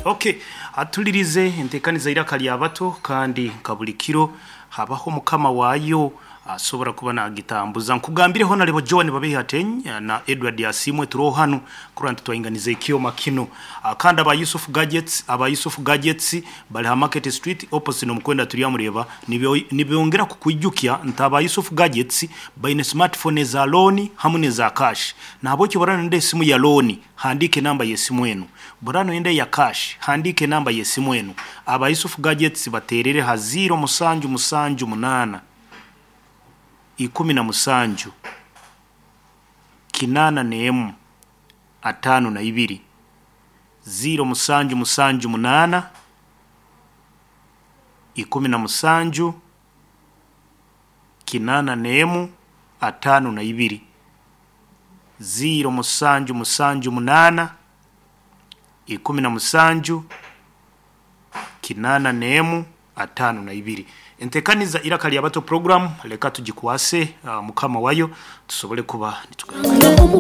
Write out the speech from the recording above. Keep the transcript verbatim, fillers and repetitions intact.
Okay, atulirize entekaniza iraka lya bato, kandi nka buli kiro habaho mukama waayo asobora kuba nagitambuza. Nkugambireho nalebo John Babehi na Edward Asimwe turoho hanu kurora nti twainganiza ekyoma kino. Ah, kandi aba Yusuf Gadgets, aba Yusuf Gadgets bali ha Market Street opposite nomukwenda turyamureba. Nibyongera kukwijukya nti aba Yusuf Gadgets baine smartphone za loan hamwe neza cash. Nahabwekyo borana nende esimu ya loan, handike namba y'esimu enu. Borano ende ya cash, handike namba y'esimu enu. Aba Yusuf Gadgets baterere ha zero musanju musanju munana ikumi na musanju kinana nemu atano na ibiri, zero musanju musanju munana ikumi na musanju kinana nemu atano na ibiri, zero musanju musanju munana ikumi na musanju kinana nemu atano na ibiri. Entekaniza iraka lya bato program leka tugikwase uh, mukama wayo tusobole kuba nitugaruka.